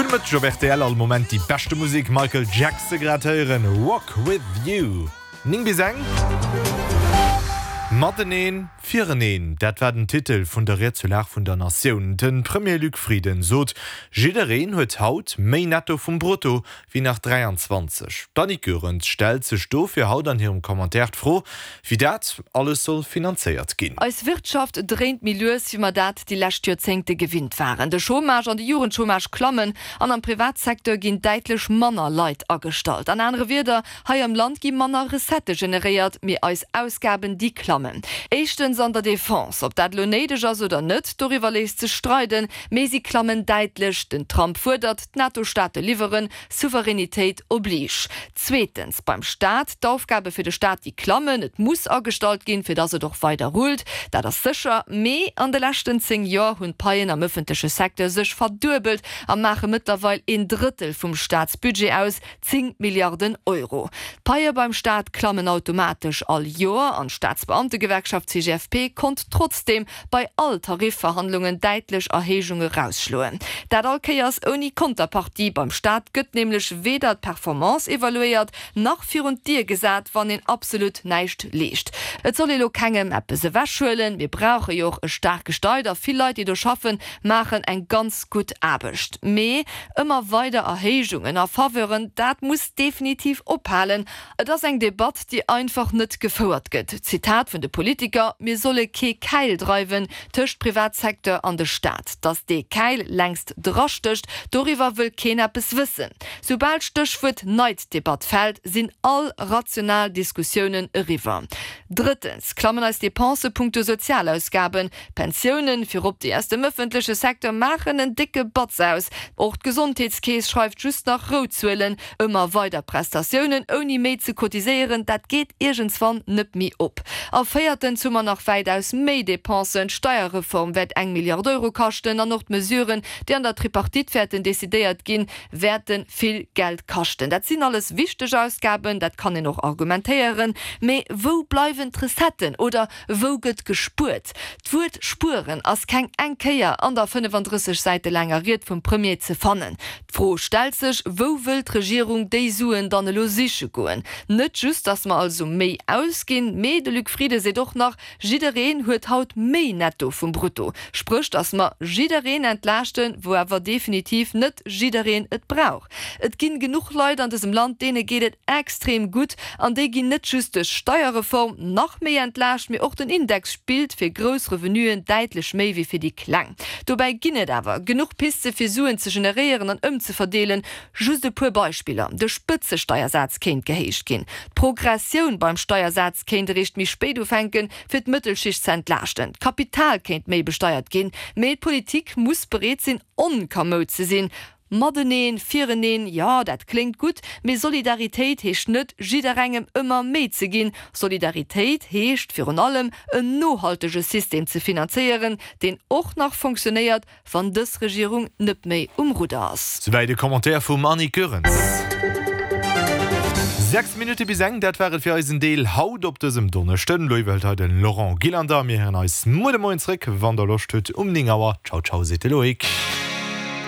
Gudde Mëtteg op rtl, all Moment déi beschte Musek, Michael Jackson grad héieren, Walk With You. 9 bis eng. Mateneen, fireneen, dat war den Titel vun der Ried zur Lag vun der Natioun. De Premier Luc Frieden sot, jiddereen huet haut méi Netto vum Brutto wéi nach 23. D'Annick Goerens stellt sech dofir haut an hirem Commentaire d'Fro, wéi dat alles soll finanzéiert ginn. Eis Wirtschaft dréint méi lues, wéi mer dat déi lescht Joerzéngte gewinnt waren. De Chômage an de Jugendchômage klammen an am Privatsecteur ginn däitlech manner Leit agestallt. An anere Wierder, hei am Land gi manner Recettë generéiert, mee eis Ausgaben, déi klammen. Éischtens an der Defense. Ob dat elo néideg ass oder net, doriwwer léisst sech streiden, mee si klammen däitlech. Den Trump fuerdert, D'NATO-Staate liwweren, Souveränitéit oblige. Zweetens, beim Staat, d'Aufgabe fir de Staat, déi klammen. Et muss agestallt ginn, fir dass et och weider rullt, dat ass sécher. Mee an de leschten 10 Joer hunn d'Paien am ëffentleche Secteur sech verduebelt a maache mëttlerweil een Drëttel vum Staatsbudget aus, 10 Milliarden Euro. D'Paie beim Staat klammen automatesch all Joer an d'Staatsbeamtegewerkschaft CGFP konnt trotzdeem bei all Tarifverhandlungen däitlech Erhéijunge rausschloen. Dat all Kéiers ouni Konterpartie. Beim Staat gëtt nämlech weder d'Performance evaluéiert, nach virun d'Dier gesat, wann een absolut näischt leescht. Et soll ee lo kengem eppes ewechhuelen, mir brauche jo och e staarke Steit a vill Leit, déi do schaffen, maachen eng ganz gutt Aarbecht. Mee ëmmer weider Erhéijungen a Faveuren, dat muss definitiv ophalen. Et ass eng Debatt, déi einfach net gefouert gëtt. Zitat vun de Politiker, Mir solle kee Käil dreiwen tëscht Privatsecteur an de Staat. Datt dee Käil längst drastécht, doriwwer wëll keen eppes wëssen. Soubal d'Stéchwuert Neiddebatt fält, sinn all rational Diskussiounen eriwwer. Drëttens klammen eis Depensë punkto Sozialausgaben. D'Pensiounen, virop déi aus dem ëffentleche Secteur, maachen en décke Batz aus. Och d'Gesondheetskeess schreift just nach rout Zuelen. Ëmmer weider Prestatiounen ouni méi ze cotiséieren, dat geet iergendswann net méi op. A véiertens hu mer nach wäitaus méi Dépensen. D'Steierreform wäert eng Milliard Euro kaschten an och d'Mesuren, déi an der Tripartite wäerten decidéiert ginn, wäerte vill Geld kaschten. Dat sinn alles wichteg Ausgaben, dat kann een och argumentéieren. Mee wou bleiwen d'Recetten? Oder Wou gëtt gespuert? D'Wuert spueren ass keng eng Kéier an der 35 Säite laanger Ried vum Premier ze fannen. D'Fro stellt sech, Wou wëll d'Regierung déi Suen dann elo siche goen? Net just, datt mer also méi ausginn, mee de Luc Frieden seet och nach, Jiddereen huet haut méi Netto vum Brutto. Spréch, datt mer jiddereen entlaaschten, wou awer definitiv net jiddereen et brauch. Et ginn genuch Leit an dësem Land, deene geet et extrem gutt an déi ginn net just duerch d'Steierreform nach méi entlaascht, mee och den Index spillt fir grouss Revenuen däitlech méi wéi fir déi kleng. Dobäi ginn et awer genuch Piste fir Suen ze generéieren an ëmzeverdeelen. Just e puer Beispiller, De Spëtzesteiersaz kéint gehéicht ginn, d'Progressioun beim Steiersaz kéint eréischt méi spéit ufänken, fir d'Mëttelschicht ze entlaaschten, d'Kapital kéint méi besteiert ginn, mee d'Politik muss bereet sinn onkamoud ze sinn. Mateneen, fireneen, jo, dat kléngt gutt, mee Solidaritéit heescht net, jidderengem ëmmer méi ze ginn. Solidaritéit heescht virun allem, en nohaltege System ze finanzéieren, deen och nach fonctionnéiert, wann dës Regierung net méi um Rudder ass. Souwäit e Commentaire vum Annick Goerens. 6 Minutte bis eng, dat war et fir eisen Deel haut op dësem Donneschden. Elo iwwerhëlt hei de Laurent Gillander. Mir héieren eis muer de Moien zréck, wann der Loscht hutt, um 9 Auer. Ciao, ciao, seet de Loïc.